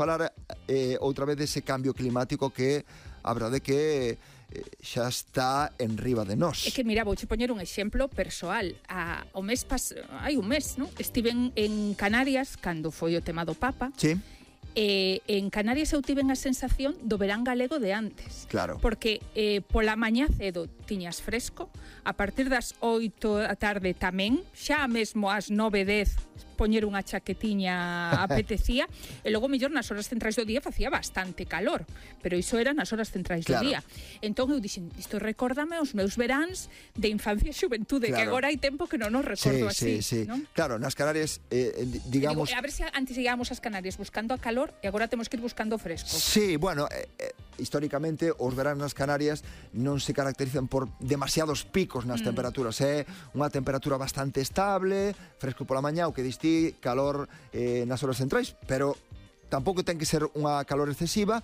falar outra vez dese cambio climático que a verdade que xa está en riba de nós. É que, mira, vouche poñer un exemplo persoal. Hai un mes, non? Estiven en Canarias cando foi o tema do Papa. Sí. En Canarias eu tiven a sensación do verán galego de antes. Claro. Porque pola mañá cedo tiñas fresco, a partir das 8 da tarde tamén, xa mesmo ás 9:10 poñer unha chaquetiña apetecía, e logo mellor nas horas centrais do día facía bastante calor, pero iso era nas horas centrais do día. Entón eu dixen, isto recórdame os meus veráns de infancia e xuventude, que agora hai tempo que non nos recordo así. ¿No? Claro, nas Canarias, digamos... A ver se antes llegábamos ás Canarias buscando a calor e agora temos que ir buscando fresco. Sí, bueno, históricamente os veráns nas Canarias non se caracterizan por demasiados picos nas temperaturas. É unha temperatura bastante estable, fresco pola mañá, o que distí, calor nas horas centrais, pero tampouco ten que ser unha calor excesiva.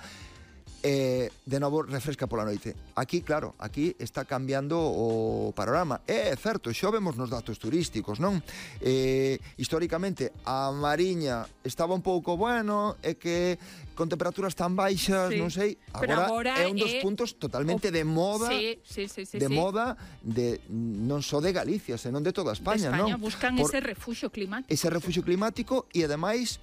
De novo refresca pola noite. Aquí, claro, aquí está cambiando o panorama. É certo, xo vemos nos datos turísticos, non? Históricamente a Mariña estaba un pouco bueno, é que con temperaturas tan baixas, non sei, agora é un dos puntos totalmente de moda, de moda non só de Galicia, senón de toda España, non? Buscan ese refuxio climático. Ese refuxio climático e ademais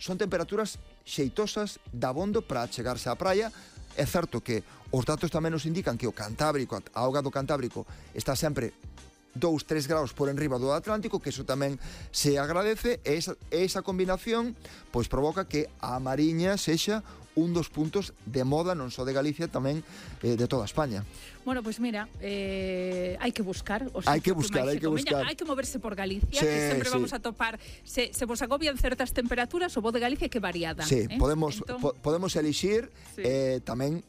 son temperaturas xeitosas, dabondo para chegarse á praia. É certo que os datos tamén nos indican que o Cantábrico, a auga do Cantábrico está sempre 2-3 graus por enriba do Atlántico, que iso tamén se agradece, e esa combinación pois provoca que a Mariña sexa un dos puntos de moda non só de Galicia, tamén de toda España. Bueno, pois mira, hai que buscar. Hai que buscar. Hai que moverse por Galicia, que sempre vamos a topar. Se vos agobian certas temperaturas, o bo de Galicia é que variada. Sí, podemos elixir tamén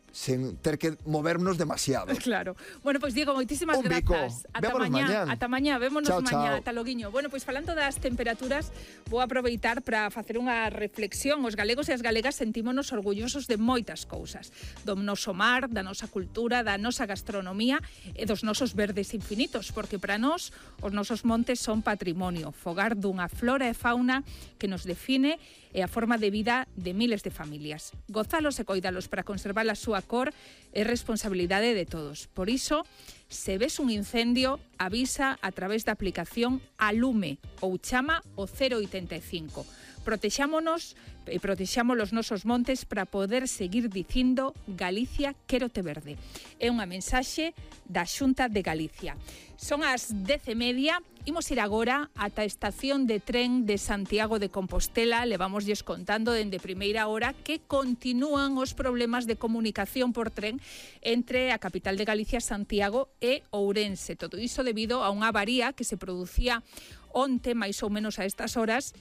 sen ter que movernos demasiado. Claro. Bueno, pois Diego, moitísimas grazas. Ata mañá, vémonos mañá, ata loguiño. Bueno, pois falando das temperaturas, vou aproveitar para facer unha reflexión. Os galegos e as galegas sentímonos orgullosos de moitas cousas. Do noso mar, da nosa cultura, da nosa gastronomía e dos nosos verdes infinitos, porque para nós os nosos montes son patrimonio, fogar dunha flora e fauna que nos define e a forma de vida de miles de familias. Gozalos e coidalos para conservar a súa cor é responsabilidade de todos. Por iso, se ves un incendio, avisa a través da aplicación Alume ou chama o 085. Protexámonos e protexamos os nosos montes para poder seguir dicindo Galicia quérote verde. É unha mensaxe da Xunta de Galicia. Son as 10:30, imos ir agora ata a estación de tren de Santiago de Compostela. Levamosles contando dende primeira hora que continúan os problemas de comunicación por tren entre a capital de Galicia, Santiago, e Ourense. Todo iso debido a unha avaría que se producía onte, máis ou menos a estas horas,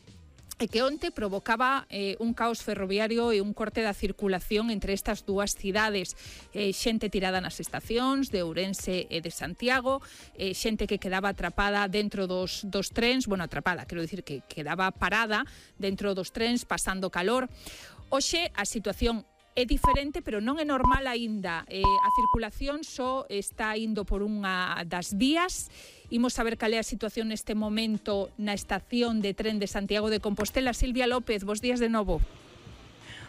e que onte provocaba un caos ferroviario e un corte da circulación entre estas dúas cidades. Xente tirada nas estacións de Ourense e de Santiago, xente que quedaba atrapada dentro dos trens, bueno, atrapada, quero dicir que quedaba parada dentro dos trens, pasando calor. Hoxe a situación é diferente, pero non é normal aínda. A circulación só está indo por unha das vías. Imos saber cal é a situación neste momento na estación de tren de Santiago de Compostela. Silvia López, bos días de novo.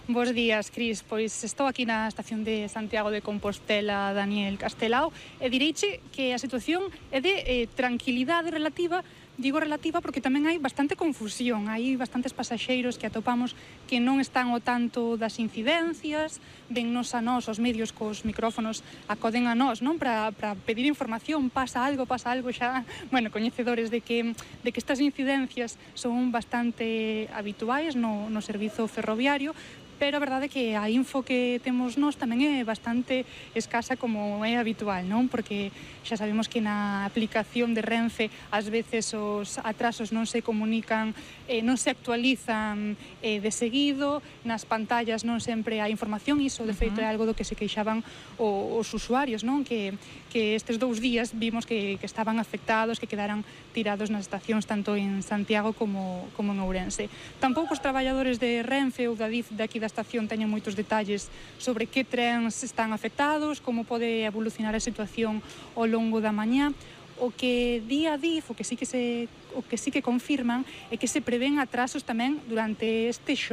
Bos días, Cris. Pois estou aquí na estación de Santiago de Compostela, Daniel Castelao, e direiche que a situación é de tranquilidade relativa. Digo relativa porque tamén hai bastante confusión, hai bastantes pasaxeiros que atopamos que non están ao tanto das incidencias, vennos a nós, os medios cos micrófonos acoden a nós, non, para pedir información, pasa algo xa, bueno, coñecedores de que estas incidencias son bastante habituais no servizo ferroviario, pero a verdade é que a info que temos nós tamén é bastante escasa como é habitual, non? Porque xa sabemos que na aplicación de Renfe ás veces os atrasos non se comunican, non se actualizan de seguido, nas pantallas non sempre hai información, iso de feito é algo do que se queixaban os usuarios, non? Que estes 2 días vimos que estaban afectados, que quedaran tirados nas estacións tanto en Santiago como en Ourense. Tampouco os traballadores de Renfe ou da DIF de aquí da estación teñen moitos detalles sobre que trens están afectados, como pode evolucionar a situación ao longo da mañá. O que di a DIF, o que sí que confirman, é que se prevén atrasos tamén durante este xoves.